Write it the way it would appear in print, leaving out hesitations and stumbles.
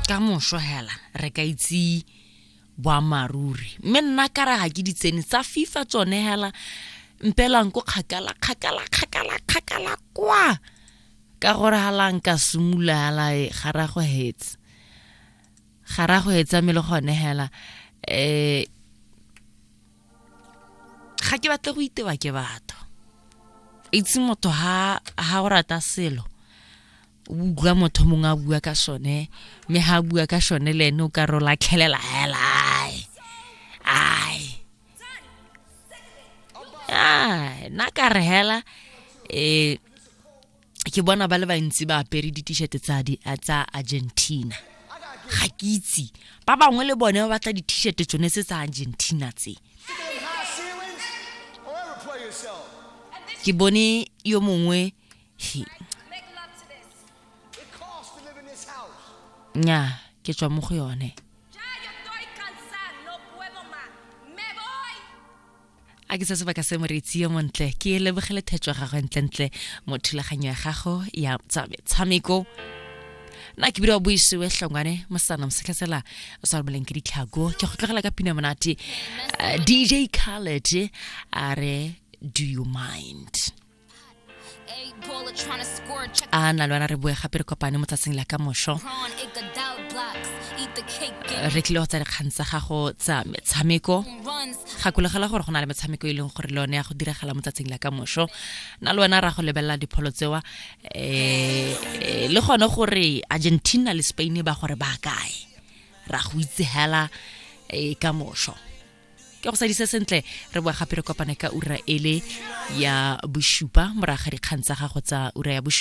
Ka moso hela re ka itse boammaaruri mme nna ka re ga ke ditsene tsa fifa tsone hela mpelang ko kgakala kgakala kgakala kgakala kwa ka gore hala nka simolola hala e, ga ra go hetsa ga ra go hetsa mme le gone hela um ga ke batle go itewa ke batho itse motho ha ha o rata selo o utlwa motho mongwe a bua ka sone mme ha a bua ka sone le ene o ka re o latlhelela hela ai ai ai nna ka re hela um ke bona ba le bantsi ba apere di-t-shirt tsa tsa Argentina ga ke itse ba bangwe le bone ba batla di-t-shirt tsone tse tsa Argentina tse ke bone yo mongwe nya ke tswa mo go yone a ke se sebaka se moreetsi yo montle ke lebogele thetso ya gagwe ntlentle mo thulaganyo ya gago ya tsa metshameko nna ke bile wa boisiwe hlongwane mosana mosetlhasela o sa romeleng ke ditlhako ke go tlogela ka pina monate eh, dj khaled a re do you mind a na le wena re boe gape re kopane mo tsatsing la ka moso re tlile go tsa dikgang tsa gago tsa metshameko gakologela gore go na le metshameko e leng gore le yone ya go diragala mo tsatsing la ka moso na le wena ra go lebelela dipholo tsewa um le gone gore argentina le spain ba gore ba kae ra go itse hela um ka moso ke go sadise sentle re boa gape re kopane ka ura ele ya bosupa morago ga dikgang tsa gago tsa ura ya bosupa.